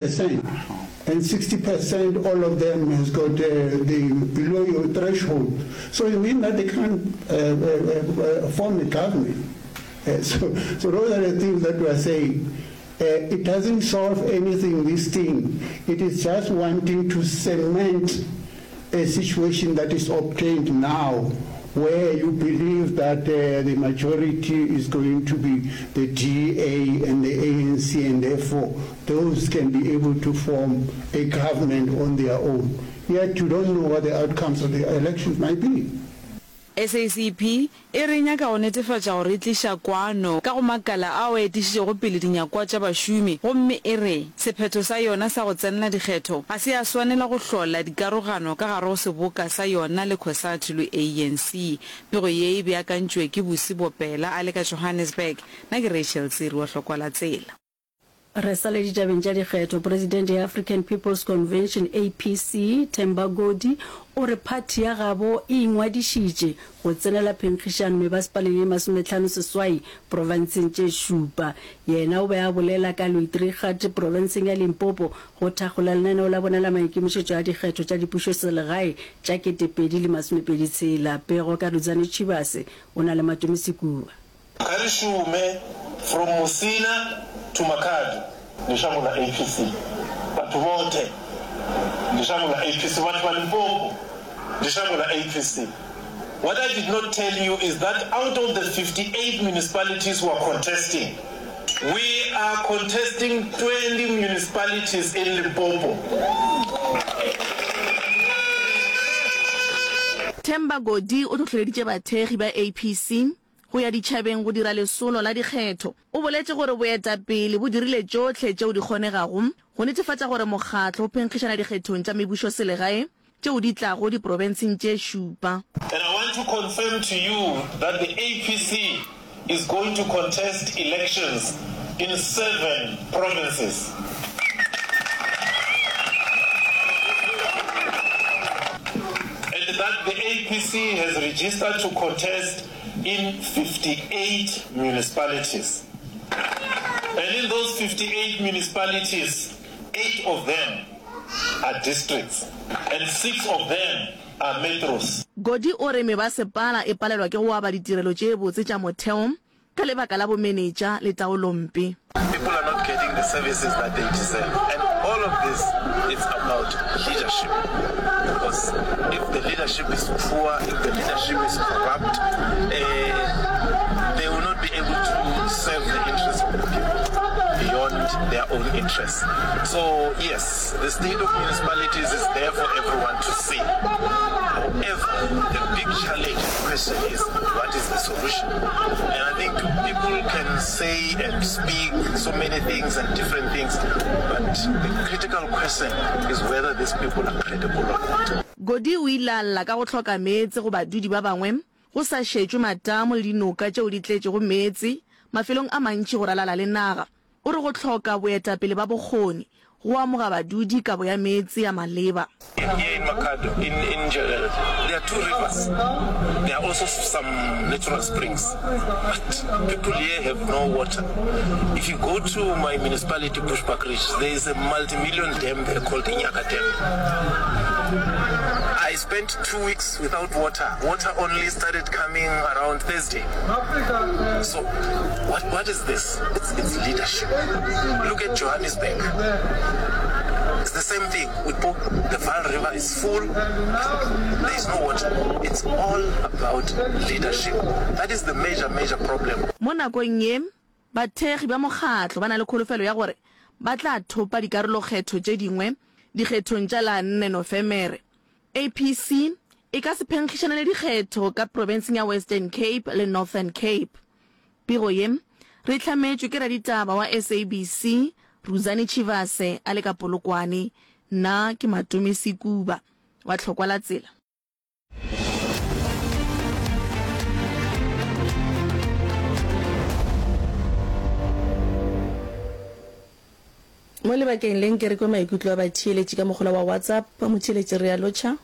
Percent and 60 percent all of them has got uh, the below your threshold. So it means that they can't uh, uh, uh, form a government. Uh, so, so those are the things that we are saying. Uh, it doesn't solve anything, this thing. It is just wanting to cement a situation that is obtained now where you believe that uh, the majority is going to be the DA and the ANC and therefore those can be able to form a government on their own. Yet you don't know what the outcomes of the elections might be. SACP e re e nyaka go netefatša gore e tliša kwano ka go makala ao a etišitšego pele dinyakwa tša bašomi gomme e re sephetho sa yona sa go tsenela dikgetho ga se ya swanela go hlola dikarogano ka gare go seboka sa yona le Cosatu le ANC. Pego ye e beakantšwe ke Busi Bopela a le ka Johannesburg. Nna ke Rachel Tsiri wa Hlokwa la Tsela. Re sa le ditabeng tša dikgetho, Presidente ya African People's Convention, APC, Themba Godi, o re phathi ya gabo e ingwadišitše go tsenela phenkgišano mebasepaleng ye masometlhano-seswai profenseng tše šupa. Yena o be a bolela ka Luitrigat profenseng ya Limpopo go thakgola lenaneo la bona la maikemišetšo a dikgetho tša dipušoselegae tša 2026. Pego ka Rudzani Tshivhase, o na le Matome Sekuba. Kha ri shume from Musina to Makhado. Ndi shango ḽa APC. Vhathu vhoṱhe ndi shango ḽa APC. Vhathu vha Limpopo ndi shango ḽa APC. What I did not tell you is that out of the 58 municipalities we are contesting, we are contesting 20 municipalities in Limpopo. Themba Godi o hlohleleditše bathekgi ba APC go ya ditšhabeng go dira lesolo la dikgetho. O boletše gore boetapele bo dirile tšohle tšeo di kgonegago go netefatša gore mokgatlo o phenkgišana dikgethong tša mebušoselegae tšeo di tlago diprofenseng tše šupa. And I want to confirm to you that the APC is going to contest elections in seven provinces. And that the APC has registered to contest in 58 municipalities. And in those 58 municipalities, eight of them are districts and six of them are metros. Godi o re mebasepala e palelwa ke go aba ditirelo tše botse tša motheo ka lebaka la bomenetša le taolompe. People are not getting the services that they deserve and all of this it's about leadership because if the leadership is poor, if the leadership is corrupt, uh, they will not be able to serve the interests of the people beyond their own interests. So yes, the state of municipalities is there for everyone to see. However, the big challenge question is what is the solution? And I think people can say and speak so many things and different things, but the critical question is whether these people are credible or not. Godi o ile a lla ka go hloka meetse go badudi ba bangwe, go sa šetšwe matamo le dinoka tšeo di tletšego meetse mafelong a mantši go ralala le naga. O re go hloka boetapele ba bokgoni go amoga badudi kabo ya meetse ya maleba. Here in Makhado, in in Nzhelele, there are two rivers. There are also some natural springs, but people here have no water. If you go to my municipality, Bushbuckridge, there is a multi-million dam there called Inyaka Dam. I spent two weeks without water. Water only started coming around Thursday. So what, what is this? It's, it's leadership. Look at Johannesburg. It's the same thing. We put the Vaal River is full, there is no water. It's all about leadership. That is the major, major problem. Mo nakong ye, bathekgi ba mokgatlo ba na le kholofelo ya gore ba tla thopa dikarolokgetho tše dingwe dikgethong tša la nne Nofemere. APC e ka se phenkgišanele dikgetho ka profenseng ya Western Cape le Northern Cape. Pego ye re e hlametšwe ke raditaba wa SABC Rudzani Tshivhase a le ka Polokwane. Nna ke Matome Sekuba wa Tlhokwa la Tsela. Mo lebakeng le nke re kwe maikutlo a batheeletši ka mogola wa WhatsApp. Motheeletši re a lotšha.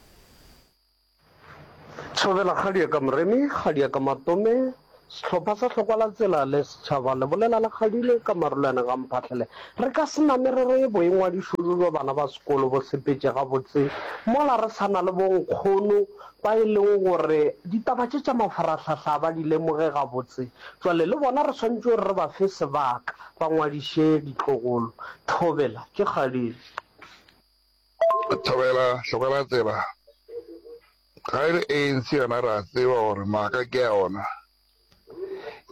Thobela kgadi ya ka Moremi, kgadi ya ka Matome. Sehlopha sa Hlokwa la Tsela le Setšhaba le bolela le kgadile ka marulane ga Mphahlele. Re ka se name re re boingwadišo bjo bja bana ba sekolo bo sepetše gabotse mola re sa na le bonkgono ba e leng gore ditaba tše tša mafarahlahla ga ba di lemoge gabotse. Jwale le bona re swanetše gore re ba fe sebaka ba ngwadiše ditlogolo. Thobela, ke kgadile. Thobela, Hlokwa la Tsela. Ga e le ANC yona re a tseba gore maaka ke a ona.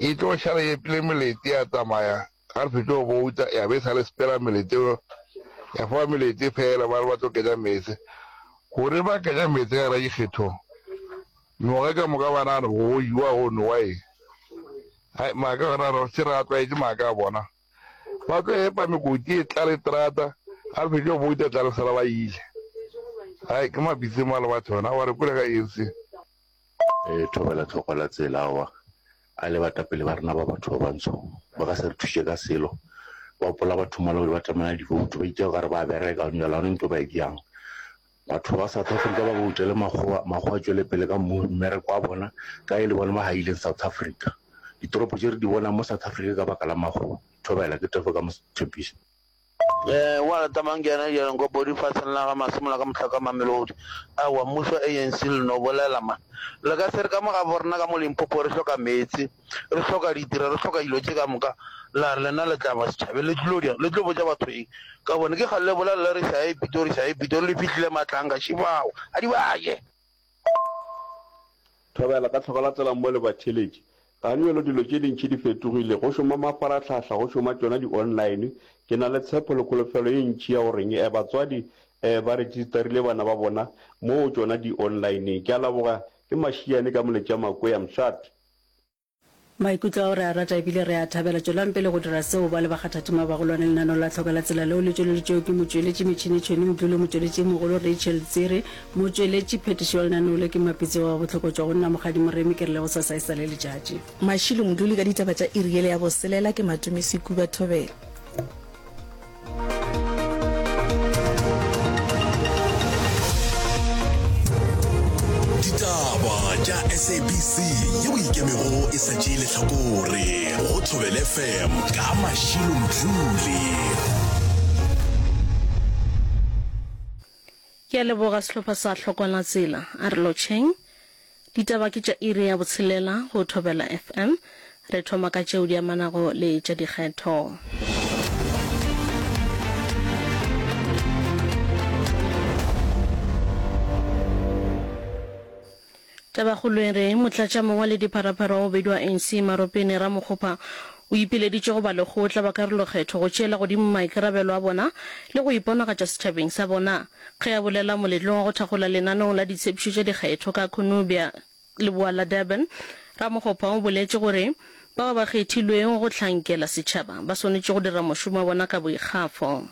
E tlo šala e epile melete ya tsamaya ga re fetše go bouta ya be e sa le sepela melete ya foba melete fela ba re ba tlo kenya meetse. Gore ba kenya meetse ka gara dikgetho nywaga ka moka ba nagana go jewa go nowa eng. Hai maaka gona re se re a tlwaetše maaka a bona. Ba tlo epa mekoti e tlale terata, ga re fetše go bouta tla re sala ba ile. Hai, ke mabitse mo a le batho bana, wa re kwele ka eng se? E thobela tlhoko la tsela aowa, a le batapele ba rena ba batho ba bantsho ba ka se re thuše ka selo. Ba gopola batho mola ba tlamela divoutu ba itša okare ba bereka jwale ga gona ntho ba e diang. Batho ba South Africa ba boutele makgowa, makgowa a tšwele pele ka mmereko wa bona ka e le bona ba haileng South Africa. Ditoropo tše re di bonang mo South Africa ka baka la makgowa. Thobela, ke tefo ka mo tshepiša. Ee, wa rata mang ke yena jalo nko podi faseng la ga Masemola ka mohlaka Mamelodi. Aowa mmušo ANC le no bolela man. Le ka se re ka mo gabo rena ka mo Limpopo re hloka meetse, re hloka ditira, re hloka dilo tše ka moka la re lena le tla ba setšhabeng le tlilo dirang? Le tlo botša batho eng? Ka bone ke kgale le bolela le re šae Pitori šae Pitori le fihlile matlanga šibao a di ba je. Thobela ka tlhoka la tsela mo le batheeletši. Ganyolo dilo tše dintši di fetogile, go šoma mafarahlahla, go šoma tšona di online. Ke na le tshepo le kholofelo ye ntši ya goreng eh batswadi eh ba registerile bana ba bona mo go tšona di online. Ke a leboga, ke Mashiane ka Moletša Makwea Mshat. Maikutlo ao re a rata ebile re a thabela. Tšwelang pele go dira seo ba le bakgathatema ba bagolwane lenaneo la Tlhoka la Tsela leo le tšweleditšwego ke motšweletši Metšhene Tšhwene Mdluli, motšweletši e mogolo Rachel Tsiri, motšweletši phetišo wa lenaneo le ke Mapitsi wa Bohloko tšwa go nna Mokgadi Moremi ke re le gosasa e sa le letšatši. Mashilo Mdluli ka ditaba tša iri yele ya boselela ke Matome Sekuba Thobela. Ditaba tša SABC yeo ikemego e sa tšee lehlakore go Thobela FM ka Mashilo Mdluli. Ke a leboga sehlopha sa Hlokwana Tsela. A re lotšheng. Ditaba ke tša iri ya botshelela go Thobela FM. Re thoma ka tšeo di amanago le tša dikgetho. Tabakgolo e re, Motlatšamongwaledipharapara wa bobedi wa ANC, Maropene Ramokgopa, o ipileditše go balekgotla ba karolokgetho go tšeela godimo maikarabelo a bona le go iponagatša setšhabeng sa bona. Ge a bolela moletlong wa go thakgola lenaneong la ditshepišo tša dikgetho ka Cornubia, leboa la Durban, Ramokgopa o boletše gore bao ba kgethilwego go hlankela setšhaba ba swanetše go dira mošomo wa bona ka boikgafo.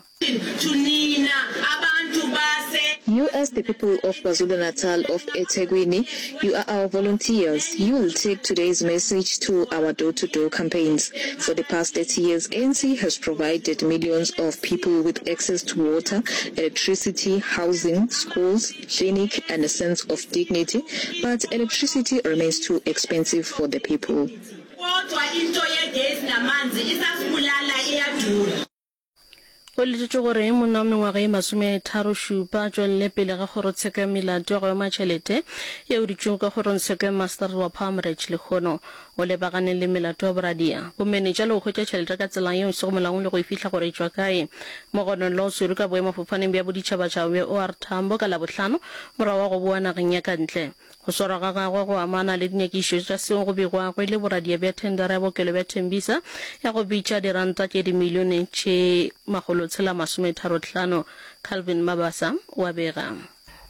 You as the people of KwaZulu-Natal of eThekwini, you are our volunteers. You will take today's message to our door-to-door campaigns. For the past 30 years, ANC has provided millions of people with access to water, electricity, housing, schools, clinic and a sense of dignity, but electricity remains too expensive for the people. Go letetšwe gore monna wa mengwaga ye masometharošupa a tšwelele pele ga kgorotsheko ya melato ya go ema tšhelete yeo e dutšego ka kgorongtsheko ya Maseterata wa Palm Ridge lehono. O lebagane le melato ya boradia, bomenetša le go hwetša tšhelete ka tsela yeo e sego molaong le go e fihla gore e tšwa kae. Mogononelwa o swerwe ka boemafofaneng bja boditšhabatšhaba bja OR Tambo ka Labohlano morago ga go boa nageng ya ka ntle. Go swarwa ga gagwe go amana le dinyakišišo tša seo go begwago e le boradia bja thendara ya bookelo bja Tembisa ya go bitša diranta tše dimilione tše makgolotshela-masometharohlano. Calvin Mabasa o a bega.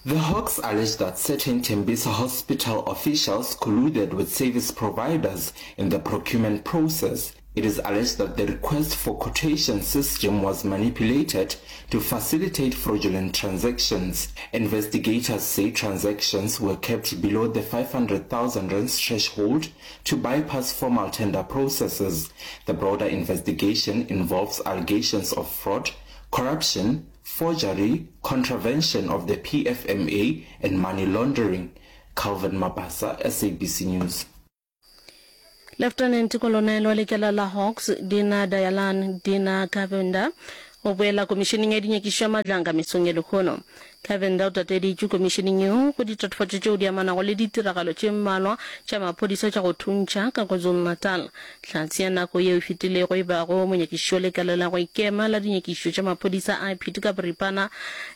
The Hawks allege that certain Tembisa Hospital officials colluded with service providers in the procurement process. It is alleged that the request for quotation system was manipulated to facilitate fraudulent transactions. Investigators say transactions were kept below the 500,000 rands threshold to bypass formal tender processes. The broader investigation involves allegations of fraud, corruption, forgery, contravention of the PFMA and money laundering. Calvin Mabasa, SABC News. Leftenente Kolonele wa Lekala la Hawks, Dina Dayalan Dina Govender, o boela Komišeneng ya Dinyakišišo ya Matlanga mesong ya lehono. Govender o tateditšwe komišeneng yeo go ditatofatšo tšeo di amanago le ditiragalo tše mmalwa tša maphodisa tša go thuntšha ka KwaZulu-Natal. Hlatse ya nako yeo e fetilego e bago monyakišiši wa lekala la go ikema la dinyakišišo tša maphodisa IPID ka boripana,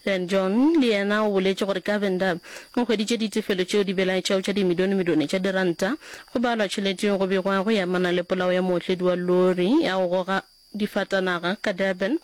Len John, le yena o boletše gore Govender o hweditše ditefelo tšeo di belaetšago tša dimilionemilione tša diranta Go balwa tšhelete yeo go begwago e amana le polao ya mootledi wa lori ya go goga difatanaga ka Durban,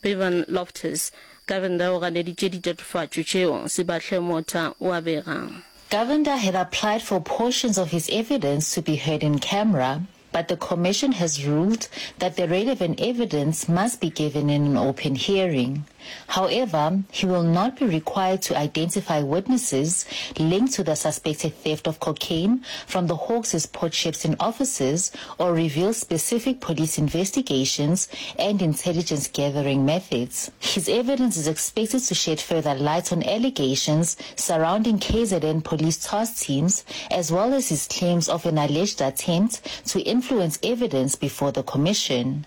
Bevan Loftus. Govender o ganeditše ditatofatšo tšeo, Sibahle Motha o a bega. Govender had applied for portions of his evidence to be heard in camera, but the commission has ruled that the relevant evidence must be given in an open hearing. However, he will not be required to identify witnesses linked to the suspected theft of cocaine from the Hawks' Port Shepstone offices or reveal specific police investigations and intelligence gathering methods. His evidence is expected to shed further light on allegations surrounding KZN police task teams as well as his claims of an alleged attempt to influence evidence before the commission.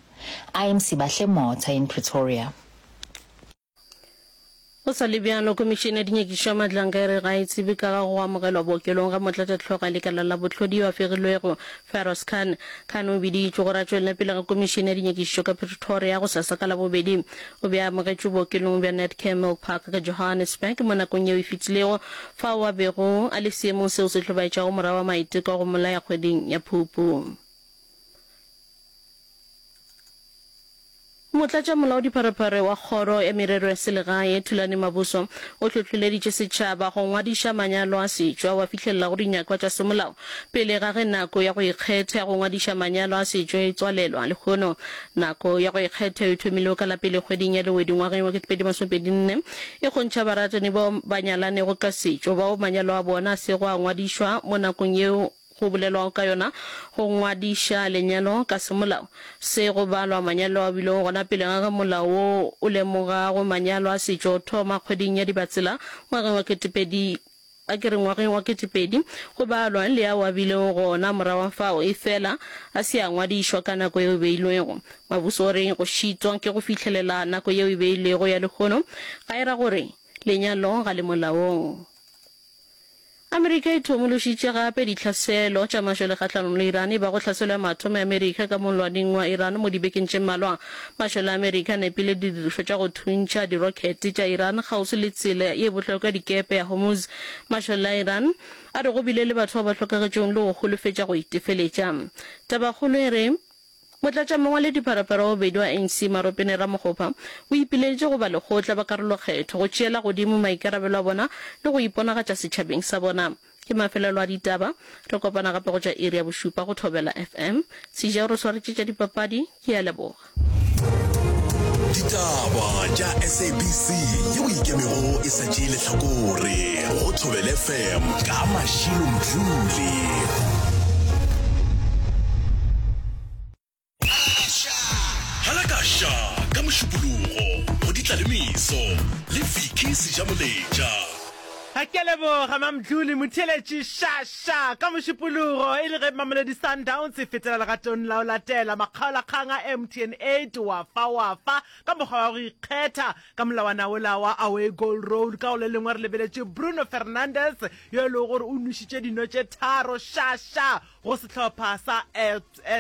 I am Sibahle Motha in Pretoria. Go sa le bjalo, Khomišene ya Dinyakišišo ya Matlanka e re ga e tsebe ka ga go amogelwa bookelong ga motlatšahlogo ya lekala la bohlodi yo a fegilwego, Feroz Khan. Khan o biditšwe gore a tšwelele pele ga Khomišene ya Dinyakišišo ka Pretoria gosasa ka Labobedi. O be a amogetšwe bookelong bja Netcare Milpark ka Johannesburg mo nakong yeo e fetilego, fao a bego a le seemong seo se hlobaetšago morago ga maiteko a go mmolaya kgweding ya Phupu. Motlatšamolaodipharephare wa Kgoro ya Merero ya Selegae, Thulani Mabuso, o hlohleleditše setšhaba go ngwadiša manyalo a setšo ao a fihlelelago dinyakwa tša semolao pele ga ge nako ya go ikgetha ya go ngwadiša manyalo a setšo e tswalelwa. Lehono, nako ya go ikgetha e thomilwe ka la pele kgweding ya Lewedi ngwageng wa 2024, e kgontšha baratani bao ba nyalanego ka setšo bao manyalo a bona a sego a ngwadišwa mo nakong yeo go bolelwago ka yona go ngwadiša lenyalo ka semolao. Se go balwa manyalo a bilego gona pele ga ge molao wo o lemogago manyalo a setšo o thoma kgweding ya Dibatsela ngwageng wa ketepedi, a ke re ngwageng wa ketepedi, go balwa le ao a bilego gona morago ga fao, efela a se a ngwadišwa ka nako yeo e beilwego. Mabuso o re go šitwa ke go fihlelela nako yeo e beilwego ya lehono ga e ra gore lenyalo ga le molaong. Amerika e thomološitše gape ditlhaselo tša mašole kgahlanong le Iran e bago tlhaselo ya mathomo ya Amerika ka mollwaneng wa Iran mo dibekeng tše mmalwa. Mašole a Amerika a nepile didirišwa tša go thuntšha dirokhete tša Iran kgauswi le tsela ye bohlokwa ya dikepe ya Hormuz. Mašole a Iran a re go bile le batho bao ba hlokagetšego le go holofetša go itefeletša. Tabakgolo e re. Motlatšamongwaledipharapara wa bobedi wa ANC, Maropene Ramokgopa, o ipileditše go balekgotla ba karolokgetho go tšeela godimo maikarabelo a bona le go iponagatša setšhabeng sa bona. Ke mafelelo a ditaba. Re kopana gape go tša iri ya bošupa go Thobela FM. Seja o re swaretše tša dipapadi. Ke a leboga. Ditaba tša SABC yeo e ikemego e sa tšee lehlakore go Thobela FM ka Mashilo Mdluli. Halakasha ka Mošupologo go Ditlalemeso le Vicky Sejamoletša. Ke a leboga Mamdluli Motheeletši ša ša ka Mošupologo e le ge Mamelodi Sundowns e fetela legatong la go latela makgaolakgang a MTN 8 wa fa wa fa ka mokgwa wa go ikgetha ka molawana wola wa away goal rule. Ka go le lengwe re lebeletše Bruno Fernandes yo e lego gore o nwešitše dino tše tharo ša ša go sehlopha sa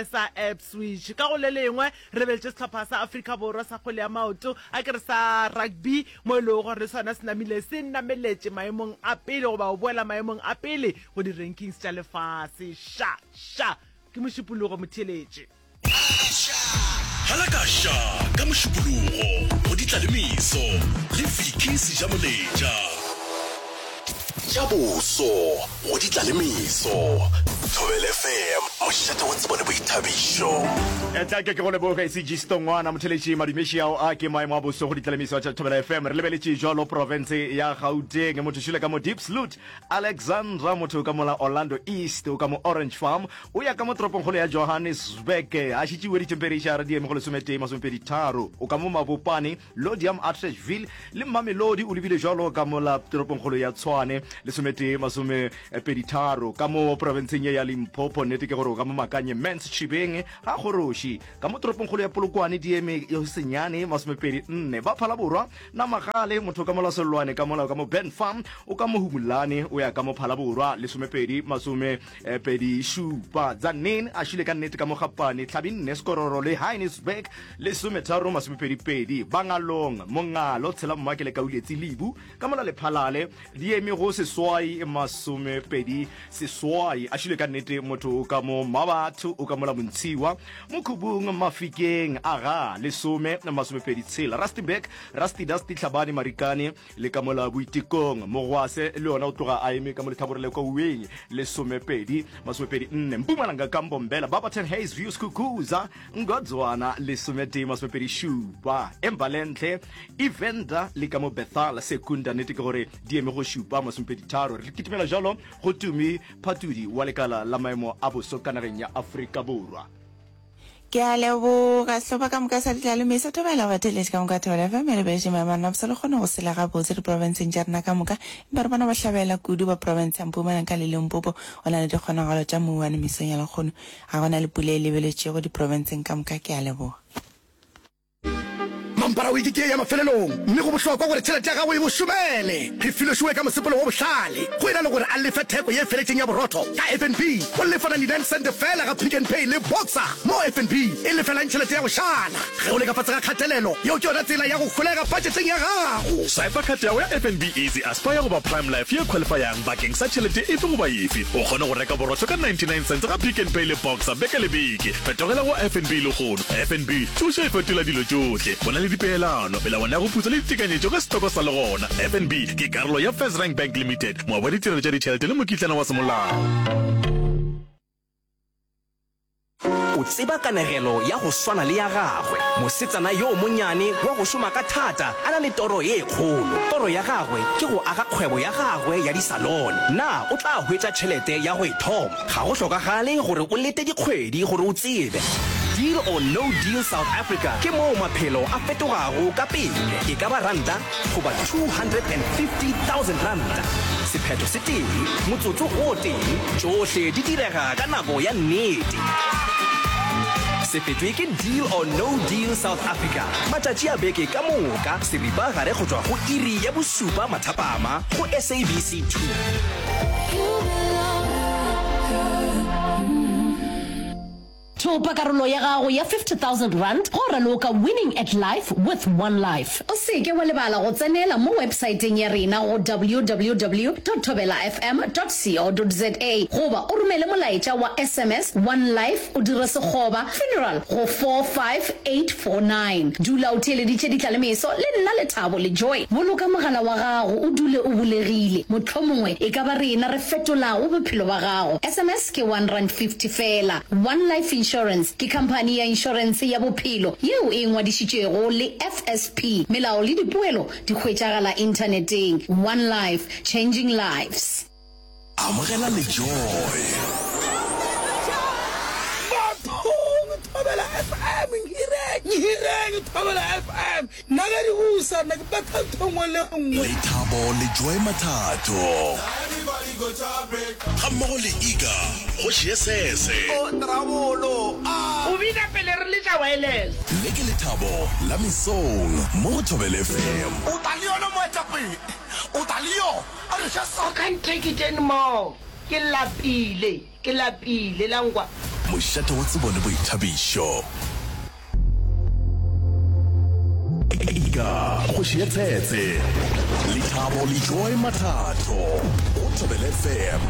sa Ipswich. Ka go le lengwe, re lebeletše sehlopha sa Afrika Borwa sa kgwele ya maoto, a ke re sa rugby, mo e lego gore le sona se namile se nameletše maemong a pele goba go boela maemong a pele go di-rankings tša lefase. Ša! Ša! Ke Mošupologo motheeletši. Halakasha ka Mošupologo go Ditlalemeso le Vicky Sejamoletša. Tša boso go Ditlalemeso. Thobela FM, mošate wa tsebo le boithabišo. Etla ke ke go leboge CG Stongwana motheletši madumeši ao a ke maemo a boso go ditlalemeso tša Thobela FM. Re lebeletše jwalo profense ya Gauteng motho šule ka mo Diepsloot Alexandra motho ka mola Orlando East o ka mo Orange Farm o ya ka mo toropongkgolo ya Johannesburg a šetše iwe dithempereišara di eme go lesometee masomepedi-tharo o ka mo Mabopane Lodiam Atteridgeville le Mamelodi o lebile jwalo ka mola toropongkgolo ya Tshwane lesometee masomepedi-tharo ka mo profenseng ye ya. ya Limpopo. Nnete ke gore o ka mo Makanye Mans Tšhibeng ga Kgoroši ka mo toropongkgolo ya Polokwane di eme senyane 24. Ba Phalaborwa Namagale motho ka mo Lasellwane ka mola o ka mo Ben Farm o ka mo Humulane o ya ka mo Phalaborwa 12 27. Tzaneen a šile ka nnete ka mo Gapane Hlabinne Sekororo le Heinisberg 13 22. Bangalong Mongalo Tshela Mmake le Kauletsi Lebu ka mola Lephalale di eme go seswai 28. A šile ka nnete motho o ka mo Mmabatho o ka mola Montshiwa Mokhubung Mafikeng aga 10 26. Rustenburg Rusty Dusty Hlabane Marikane le ka mola Boitekong Mogwase le yona o tloga a eme ka mo lehlakore le kwa Uweng 12 24. Mpumalanga ka Mbombela Barberton Haze View Skukuza Ngodzwana 11 27. Embalentle Evander le ka mo Bethal Secunda nnete ke gore di eme go šupa 23. Re kitimela jalo go Tumi Phatudi wa lekala la maemo a boso ka nageng ya Afrika Borwa. Ke a leboga sehlopha ka moka sa Ditlalemeso sa Thobela batheeletši ka moka Thobela FM e lebeletše maemo a rena bosa le kgone go sela gabotse diprofenseng tša rena ka moka empa re bona bohlabela kudu ba profense ya Mpumalanga le Limpopo go na le dikgonagalo tša mouwane mesong ya lekgono ga go na le pula e lebeletšego diprofenseng ka moka ke a leboga. Mampara wiki ke ye ya mafelelong, mme go bohlokwa gore tšhelete ya gago e go šomele. Re filwe šowe ka mosepelo wo bohlale. Go e na le gore a lefe theko ye feletšeng ya borotho ka FNB, o lefa 99 sente feela ga Pick n Pay le Boxer, mo FNB e lefelang tšhelete ya go šala. Ge o le ka fase ga kgatelelo, yeo ke yona tsela ya go holega pajeteng ya gago. Swipa card ya gago ya FNB Easy Aspire goba Prime Life ye qualifyang bakeng sa tšhelete efe goba efe. O kgone go reka borotho ka 99 cents ga Pick n Pay le Boxer beke le beke. Fetogela go FNB lehono. FNB, tšoša e fetola dilo tšohle. Go na le dipeelano, melawana ya go putswa le ditekanyetšo ge setoko sa le gona. FNB ke karolo ya FirstRand Bank Limited, moabi wa ditirelo tša ditšhelete le mokitlana wa semolao. O tseba kanegelo ya go swana le ya gagwe, mosetsana yo monyane wa go šoma ka thata a na le toro ye kgolo. Toro ya gagwe ke go aga kgwebo ya gagwe ya disalone. Na o tla hwetša tšhelete ya go e thoma? Ga go hlokagale gore o lete dikgwedi gore o tsebe. Deal or No Deal South Africa ke moo maphelo a fetogago ka pele, e ka ba ranta goba R250,000. Sephetho se tee, motsotso o tee, tšohle di direga ka nako ya nnete. Se fetwe ke Deal or No Deal South Africa matšatši a beke ka moka seripa gare go tšwa go iri ya bošupa mathapama go SABC 2. Thopa karolo ya gago ya R50,000 go raloka Winning at Life with One Life. O se ke wa lebala go tsenela mo websaeteng ya rena go www dot thobelafm dot co dot za goba o romele molaetša wa sms One Life o dire sekgoba funeral go 45849. Dula o theeleditše ditlalemeso le nna Lethabo le Joy. Boloka mogala wa gago o dule o bulegile. Mohlomongwe e ka ba rena re fetolago bophelo ba gago. Sms ke R1.50 feela. One Life Insurance ke khamphani ya inšorense ya bophelo yeo e ngwadišitšwego le FSP. Melao le dipoelo di hwetšagala inthaneteng. One Life, changing lives. Amogela le Joy. Bathong Thobela FM nhireng nhireng Thobela FM nna ge di busa nna ke betha ntho nngwe le nngwe. Lethabo le Joy Mathato. Ga mmogo le Iga kgoši ye sese. O bina pele re letša wireless. Le ke lethabo la mesong mo go Thobela FM. O tla le yona moetapele, o tla le yona. I can't take it anymore. Ke lapile, ke lapile la nkwa. Mošate wa tsebo le boithabišo. Ika, kgoši ya tshetse. Lethabo le Joy Mathatho go Thobela FM.